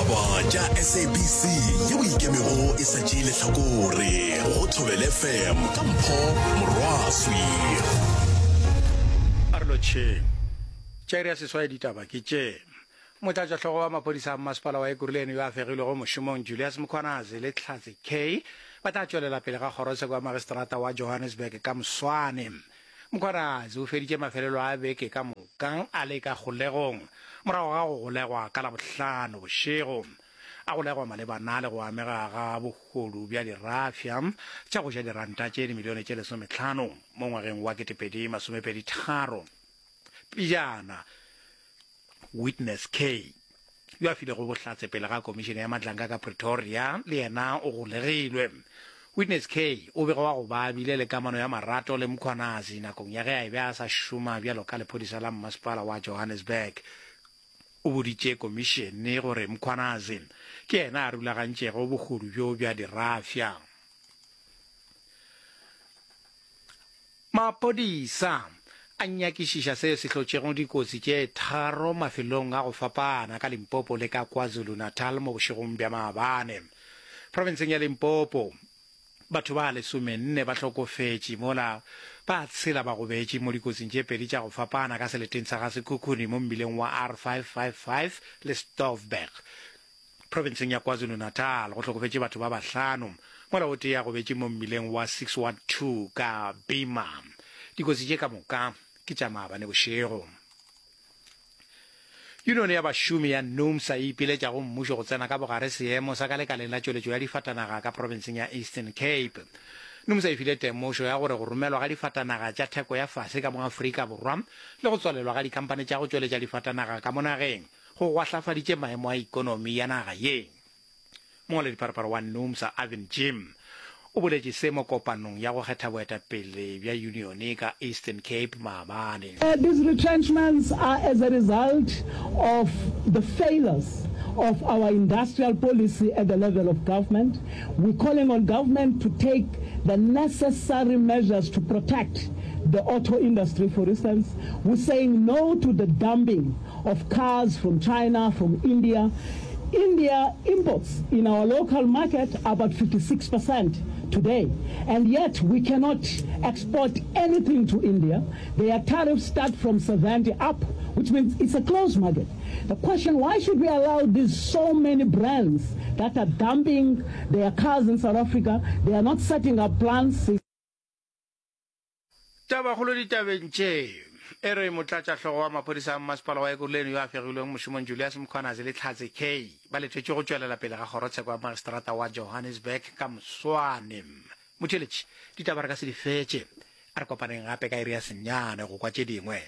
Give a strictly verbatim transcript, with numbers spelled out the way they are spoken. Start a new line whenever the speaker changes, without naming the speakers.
Ditaba tša S A B C yeo ikemego e sa tšee lehlakore go Thobela F M ka Mpho Morwaswi.
A re lotšheng. Tša iri ya seswai ditaba ke tše. Motlatšahlogo wa maphodisa a mmasepala wa Ekurhuleni yo a fegilwego mošomong Julius Mkhwanazi le Hlatse K ba tla tšwelela pele ga kgorotsheko ya magistrata wa Johannesburg ka moswane. Mkhwanazi o feditše mafelelo a beke ka moka a le ka kgolegong morago ga go golegwa ka Labohlano bošego. A golegwa malebana le go amega ga bohodu bja dirafša tša go ja diranta tše dimilione tše lesometlhano mo ngwageng wa ketepedi masomepedi tharo. Pejana, Witness K yo a filego bohlatse pele ga komišene ya Madlanga ka Pretoria le yena o golegilwe. Witness K o begwa go ba a bile le kamano ya marato le Mkhwanazi nakong ya ge a be a sa šoma bjalo ka lephodisa la mmasepala wa Johannesburg. O boditše komišene gore Mkhwanazi ke yena a rulagantšego bohodu bjo bja dirafša. Maphodisa a nyakišiša seo se hlotšego dikotsi tše tharo mafelong a go fapana ka Limpopo le ka KwaZulu-Natal mo bošegong bja maabane. Profenseng ya Limpopo, batho ba lesomenne ba hlokofetše mola ba tshela ba gobetše mo dikotsing tše pedi tša go fapana ka seleteng sa Gasekhukhune mo mmileng wa R five five five le Stoffberg. Profenseng ya KwaZulu-Natal go hlokofetše batho ba bahlano mola o tee a gobetše mo mmileng wa six one two ka Bima. Dikotsi tše ka moka ke tša maabane bošego. Yunione ya bašomi ya NUMSA e ipiletša go mmušo go tsena ka bogare seemo sa ka lekaleng la tšweletšo ya difatanaga ka profenseng ya Eastern Cape. NUMSA e file temošo ya gore go romelwa ga difatanaga tša theko ya fase ka mo Afrika Borwa le go tswalelwa ga dikhamphani tša go tšweletša difatanaga ka mo nageng go gwahlafaditše maemo a ikonomi ya naga ye. Mongwaledipharapara wa NUMSA Irvin Jim o boletše se mo kopanong ya go kgetha boetapele bja yunione ka Eastern Cape maabane.
These retrenchments are as a result of the failures of our industrial policy at the level of government. We're calling on government to take the necessary measures to protect the auto industry, for instance. We're saying no to the dumping of cars from China, from India. India imports in our local market about fifty-six percent today, and yet we cannot export anything to India. Their tariffs start from seventy up, which means it's a closed market. The question, why should we allow these so many brands that are dumping their cars in South Africa? They are not setting up plants.
Tabakgolo ditabeng tše e re motlatšahlogo wa maphodisa a mmasepala wa Ekurhuleni yo a fegilweng mošomong Julius Mkhwanazi le Hlatse K ba letetšwe go tšwelela pele ga kgorotsheko ya magistrata wa Johannesburg ka moswane. Motheeletši, ditaba re ka se di fetše. A re kopaneng gape ka iri ya senyane go kwa tše dingwe.